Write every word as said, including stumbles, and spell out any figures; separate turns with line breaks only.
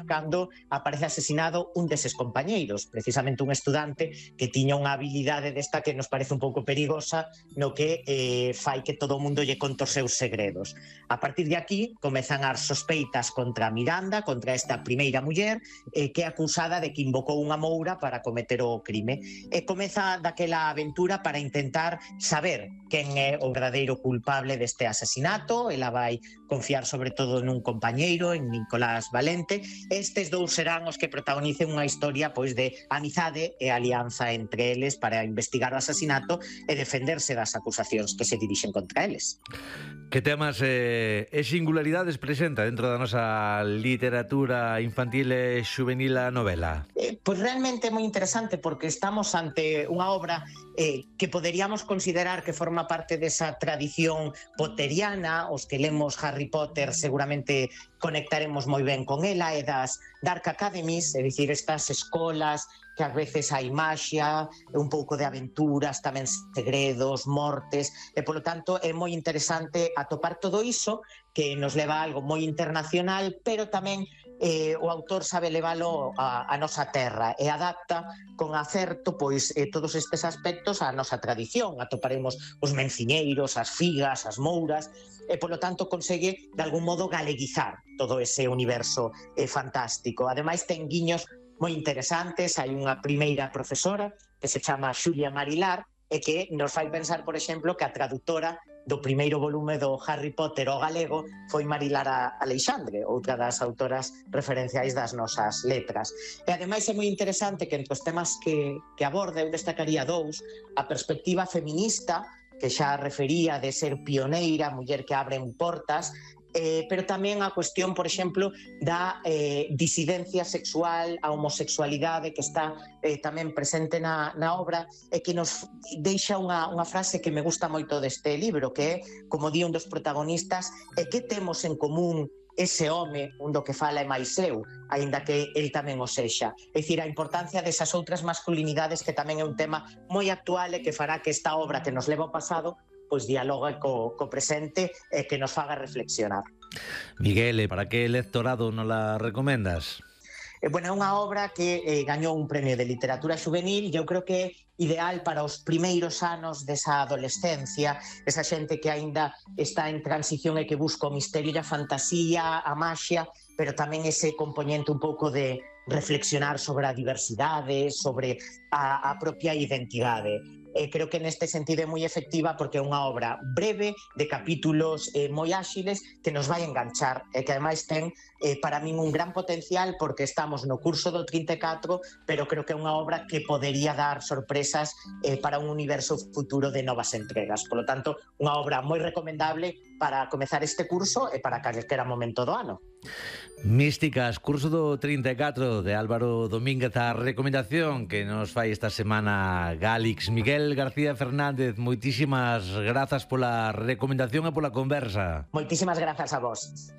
cando aparece asesinado un deses compañeiros, precisamente un estudante que tiña unha habilidade desta que nos parece un pouco perigosa, no que eh, fai que todo o mundo lle conte os seus segredos. A partir de aquí comezan as sospeitas contra Miranda, contra esta primeira muller, eh, que é acusada de que invocou unha moura para cometer o crime. E comeza daquela aventura para intentar saber quen é o verdadeiro culpable deste asesinato. Ela vai confiar sobre todo nun compañeiro, en Nicolás Valente. Estes dous serán os que protagonicen unha historia pois de amizade e alianza entre eles para investigar o asesinato e defenderse das acusacións que se dirixen contra eles.
Que temas eh, e singularidades presenta dentro da nosa literatura infantil e juvenil a novela?
Eh, pois realmente é moi interesante porque estamos ante unha obra eh, que poderíamos considerar que forma parte desa tradición potteriana. Os que lemos Harry Potter seguramente conectaremos moi ben con ela, e das Dark Academies, é dicir, estas escolas que ás veces hai maxia, un pouco de aventuras, tamén segredos, mortes, e polo tanto é moi interesante atopar todo iso que nos leva a algo moi internacional, pero tamén eh, o autor sabe leválo a, a nosa terra e adapta con acerto pois eh, todos estes aspectos á nosa tradición. Atoparemos os menciñeiros, as figas, as mouras, e polo tanto consegue de algún modo galeguizar todo ese universo eh, fantástico. Ademais ten guiños moi interesantes. Hai unha primeira profesora que se chama Xulia Marilar e que nos fai pensar, por exemplo, que a traductora do primeiro volume do Harry Potter ao galego foi Marilar Aleixandre, outra das autoras referenciais das nosas letras. E ademais é moi interesante que entre os temas que, que aborda eu destacaría dous: a perspectiva feminista, que xa refería de ser pioneira, muller que abren portas, eh, pero tamén a cuestión, por exemplo, da eh, disidencia sexual, a homosexualidade que está eh, tamén presente na, na obra, e que nos deixa unha, unha frase que me gusta moito deste libro, que é, como di un dos protagonistas, e que temos en común ese home, un do que fala é máis eu, aínda que el tamén o sexa. É dicir, a importancia desas outras masculinidades, que tamén é un tema moi actual e que fará que esta obra que nos leva ao pasado pois dialogue co, co presente e que nos faga reflexionar.
Miguel, para que lectorado nos la recomendas?
Eh, bueno, é unha obra que eh, gañou un premio de literatura juvenil e eu creo que é ideal para os primeiros anos desa adolescencia, esa xente que aínda está en transición e que busca o misterio e a fantasía, a maxia, pero tamén ese componente un pouco de reflexionar sobre a diversidade, sobre a, a propia identidade. Eh, creo que neste sentido é moi efectiva porque é unha obra breve, de capítulos eh, moi áxiles, que nos vai enganchar e que ademais ten eh, para min un gran potencial porque estamos no curso do trinta e catro, pero creo que é unha obra que podería dar sorpresas eh, para un universo futuro de novas entregas. Por lo tanto, unha obra moi recomendable para comezar este curso e para calquera momento do ano.
Místicas, curso do trinta e catro de Álvaro Domínguez, a recomendación que nos fai esta semana Gálix. Miguel García Fernández, moitísimas grazas pola recomendación e pola conversa.
Moitísimas grazas a vos.